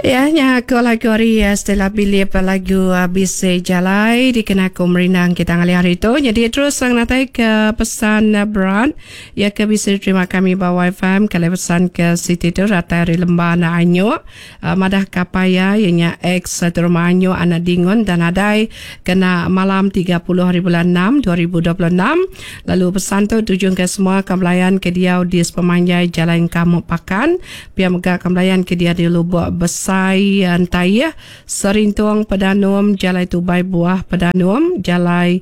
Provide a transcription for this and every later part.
Ya nya ko lagu ari Stella Bilip lagu Bisi Jalai dikena aku merindang kita ngalih hari tu. Nyadi terus ngenatai ke pesan berat ya ke bisi diterima kami ba YFM ke alai pesan ke siti tu datai ari Lemba anak Anyuk madah ke apai iya iya nya ex Teruma Anyuk anak Dingun dan nadai kena malam 30 hari bulan 6 2026 lalu pesan tu tujung ke semua ke belayan ke diau di sepemanjai Jalai Engkamuk Pakan. Pia mega ke belayan ke dia di Lubok Besai Entaih, Serintung Pedanum, Jalai Tubai Buah Pedanum, Jalai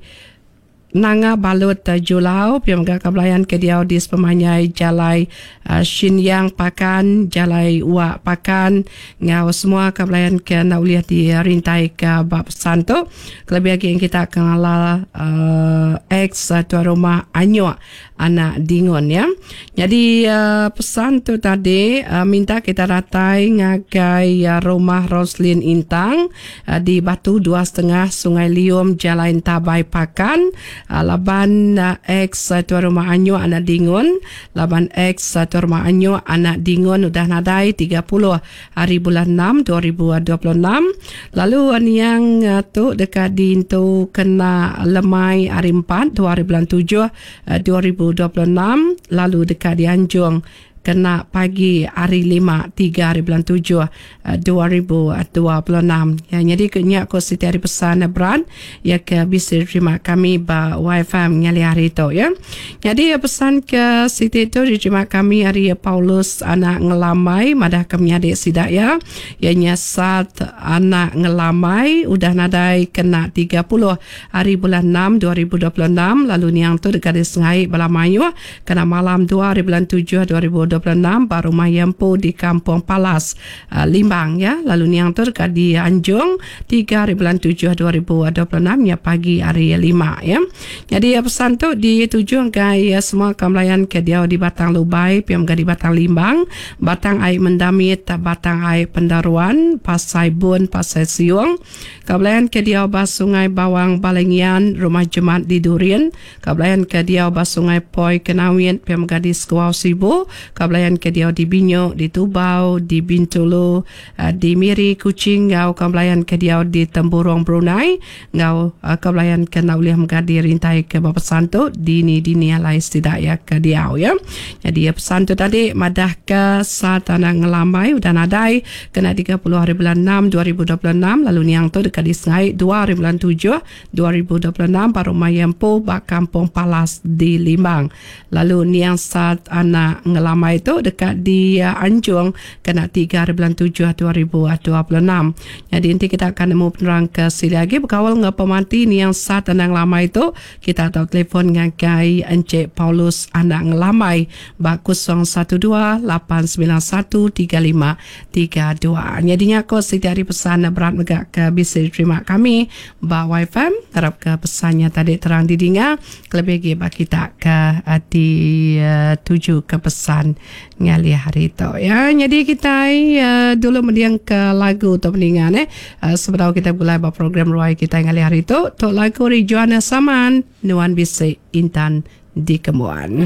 Nanga Balut Julau, pia mega ke belayan ke diau di sepemanjai Jalai Shinyang Pakan, Jalai Wak Pakan enggau semua ke belayan ke enda ulih dirintai ke ba pesan tu. Kelebih agi kita ke ngelala ex tuai rumah Anyok Anak Dingun ya. Nyadi pesan tu tadi minta kita datai ngagai rumah Roslin Intang di Batu Dua Setengah Sungai Lium Jalai Entabai Pakan laban ex tuai rumah Anyuk Anak Dingun laban ex tuai rumah Anyuk Anak Dingun udah nadai 30 hari bulan 6 2026 lalu niang tu deka diintu kena lemai hari 4 2 hari bulan 7 2026 lalu deka dianjung kena pagi hari 5 3 hari bulan 7 2026. Ya, nyadi ke nya ko siti hari pesan berat ya ke bisi diterima kami ba YFM ngalih hari tu ya. Nyadi pesan ke siti tu diterima kami ari Paulus anak Ngelambai madah ke menyadi sida iya iya nya Sat anak Ngelambai udah nadai kena 30 hari bulan 6 2026 lalu niang tu deka disengai bala mayuh kena malam 2 hari bulan 7 2026 ba rumah iya empu di Kampung Palas Limbang ya lalu niang tu deka dianjung 3 hari bulan 7 2026 nya pagi hari 5 ya. Nyadi pesan tu dituju ngagai semua kaum belayan ke diau di Batang Lubai pia mega di Batang Limbang, Batang Ai Mendamit, Batang Ai Pendaruan, Pasai Bun, Pasai Siung. Kaum belayan ke diau ba Sungai Bawang Balai Ngian, Rumah Jemat di Durin, Ka belayan ke diau ba Sungai Poi Kenawit pia mega di Sekuau Sibu, ka belayan ke diau di Binyuk, di Tubau, di Bintulu, di Miri, Kuching enggau ka belayan ke diau di Temburong Brunei enggau ka belayan ke enda ulih mega dirintai ke ba pesan tu dini-dini alai sida iya ke diau iya. Nyadi pesan tu tadi madah ke Satana Ngelambai udah nadai kena 30 hari bulan 6 2026 lalu niang tu deka disengai 2 hari bulan 7 2026 ba rumah iya empu ba Kampung Palas di Limbang. Lalu niang Sat anak Ngelambai tu deka dianjung kena 3 hari bulan 7 2026. Nyadi enti kita ka nemu penerang ke silik agi bekaul enggau pemati niang Sat anak Ngelambai tu, kita tau telefon ngagai Encik Paulus anak Ngelambai ba 012 891 35 32. Nyadi nya ko siti ari pesan berat mega ke bisi diterima kami ba YFM. Ngarap ke pesan nya tadi terang didinga kelebih agi ba kita ke dituju ke pesan ngalih hari tu ya. Nyadi kitai dulu mending ke lagu tu peninga neh sebedau kitai begulai ba program ruai kitai ngalih hari tu. Tu lagu ari Joanna Saman Nuan Bisi Intan Dikembuan.